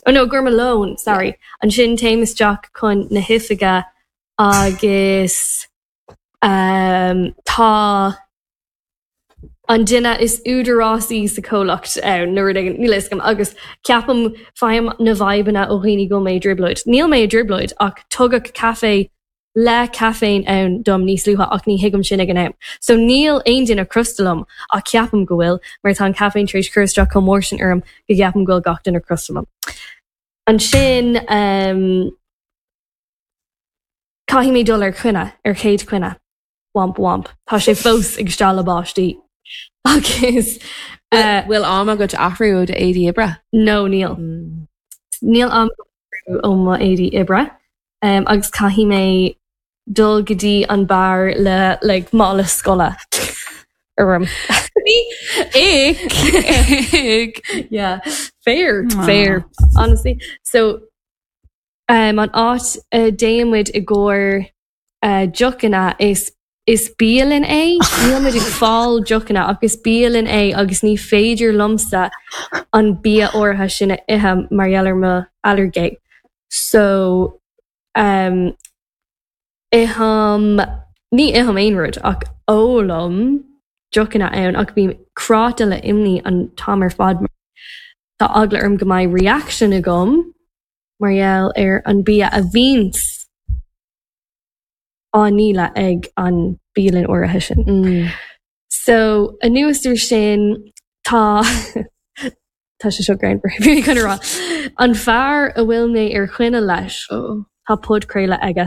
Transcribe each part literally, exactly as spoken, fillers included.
Oh no, gur mo lón, sorry. Ansin téim isteach chun na hoifige agus um, tá an duine is údarásaí sa chomhlacht ann nó rud éigin, níl a fhios agam, agus ceapaim faighim na vibeanna ó dhaoine go mé i dtrioblóid. Níl mé i dtrioblóid ach tugadh caife le caiféin ann dom níos luaithe ach ní thuigim sin ag an am. So níl aon duine crosta liom ach ceapaim go bhfuil mar tá an caiféin tar éis cur isteach chomh mór sin orm go gceapaim go bhfuil gach duine crosta liom. Ansin um, caithfidh mé dul ar choinne ar chéad choinne. Womp womp. Tá sé fós ag stealladh báistí. Agus uh, Bhfuil am agat athrú ó d'éadaí oibre? no níl. Níl am ó mo éadaí oibre um, agus caithfidh mé dul go dtí an beár le like, mála scoile orm. Ick. yeah, fair, Aw. fair, honestly. So um, an áit uh, démuid i gcóir uh, deochanna is is bialann é níl muid ag fáil deochanna agus bialann é agus ní féidir liomsa an bia áirithe sin a ithe mar gheall ar mo ailléirge. So um, ithim ní ithim aon rud ach ólaim deochanna ann ach bím cráite le imní an t-am ar fad. Tá eagla orm go mbeidh reaction agam mar gheall ar an bia a bhíonns á ndíol ag an bialann áirithe sin. Mm. So anuas air sin tá tá sé seo greannmhar bhí chun rá. An fear a bhfuil mé ar choinne leis Oh. tá podchraoladh aige.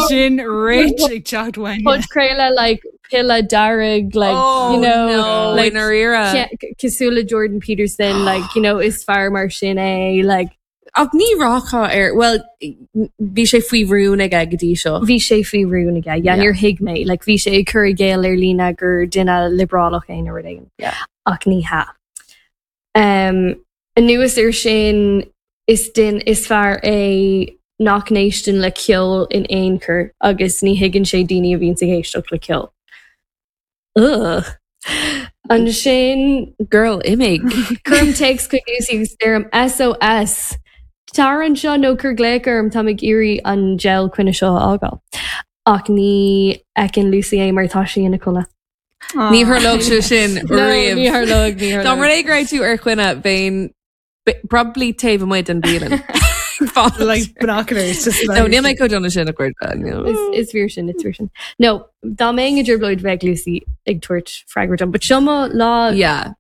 Sin rich ag teacht uainne. Podchraoladh like piolla dearg like Oh, you know no, like i ndáiríre. cosúil le Jordan Peterson like you know is fear mar sin é like Ach ní rachfá ar well bhí sé faoi rún aige go dtí seo. bhí sé faoi rún aige yeah, Yeah. níor thuig mé like bhí sé ag cur i gcéill ar líne gur duine liobrálach é nó rud éigin. Yeah. ach ní hea. Um, anuas air sin is duine is fear é nach n-éisteann le ceol in aon chor agus ní thuigeann sé daoine a bhíonn ag éisteacht le ceol. Ugh. Ansin Girl imigh. Cuirim téacs chuig Lucy agus deirim SOS. Tar anseo nó cuir glaoch orm tá ag iarraidh an gel coinne seo a fhágáil. Ach ní fheiceann Lucy é mar tá sí ina codladh. Ní tharlódh sé sin No, riamh. ní tharlódh, ní Dá mar tharlódh. é go raibh tú ar choinne bheinn probably taobh amuigh den bhialann. Like binoculars just No, níl mé chomh dona sin a chuir. Is, is fíor sin, is fíor sin. No, dá mbeinn i dtrioblóid bheadh Lucy ag tabhairt freagra dom, but seo mo lá Yeah.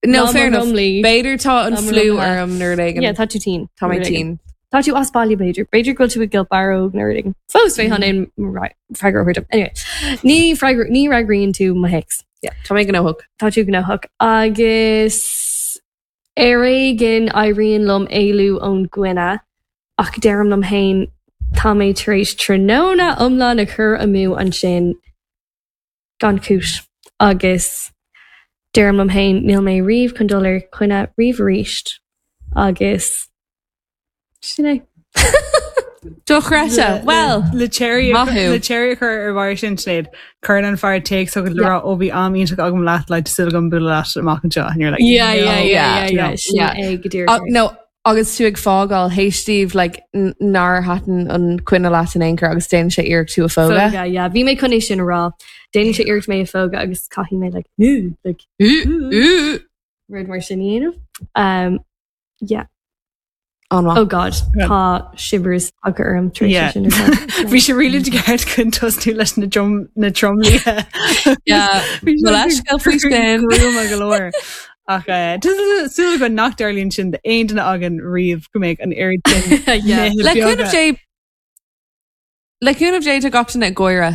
No, lá fair mo enough. rumlaí. B'fhéidir tá an Lá mo fliú rumlaithe. orm nuair éigin. Yeah, tá tú tinn. Tá mé tinn. Tá tú as baile b'fhéidir. B'fhéidir go bhfuil tú i gCill Barróg nó rud éigin. Fós bheith an aon freagra dom. Anyway, ní freagra ní fhreagraíonn tú mo théacs. Yeah, Tá mé gnóthach. Tá tú gnóthach agus ar éigean éiríonn liom éalú ón gcoinne ach deirim liom féin tá mé tar éis tráthnóna iomlán a chur amú ansin gan chúis agus deirim liom féin níl mé riamh chun dul ar choinne riamh arís agus sin é. Dochreidte. Well, le cherry maith thú. le cherry a chur ar bharr sin Sinéad cuireann an fear téacs chugat le rá ó bhí am iontach agam leat le súil agam bualadh leat amach anseo and you're like Yeah, yeah, no. yeah, yeah, yeah. no. Sin Yeah. é go díreach. Uh, no, agus tú ag fágáil théis daoibh like, n- nár thaitin an coinne leat in aon chor agus déanann sé iarracht tú a phógadh. Phógadh, yeah. Bhí mé chun é sin a rá. Déanann sé iarracht mé a phógadh agus caithfidh mé like, "Ooh," like Ú, ú. rud mar sin a dhéanamh. Um, yeah. An-mhaith. Oh God, tá shivers tagtha orm tar éis Yeah. sin a rá. Bhí sé really ceart chun tosnú leis na drum na tromluithe. Yeah. Well, leithscéal faoi sin. Gruama go leor. Ach eh, súil go nach dtarlaíonn sin d'aon duine againn riamh go mbeidh an oiread sin Yeah. nithe Le beaga. cúnamh Dé Le cúnamh Dé tá gach duine ag gáire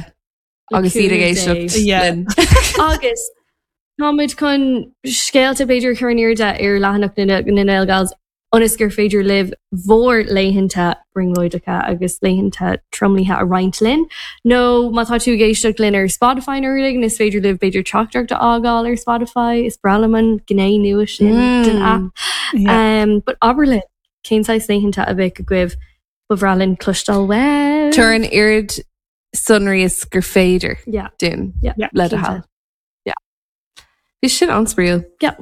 agus iad ag cúnamh éisteacht Dé. Yeah. linn. Agus táimid chun scéalta b'fhéidir chur in airde ar leathanach na na nGaelgals ionas gur féidir libh bhur laethanta brionglóideacha agus laethanta tromluithe a roinnt linn. Nó má tá tú ag éisteacht linn ar Spotify nó rud éigin, is féidir libh b'fhéidir teachtaireacht a fhágáil ar Spotify, is breá liom an gné nua sin den Mm. app. Yeah. Um, but abair linn cén saghas laethanta a bheadh agaibh ba bhreá linn cloisteáil uaibh. Tabhair an oiread sonraí is gur féidir Yeah. dúinn Yeah. Yeah. le do thoil. Yeah. Bhí sin an-spraíúil. Yeah.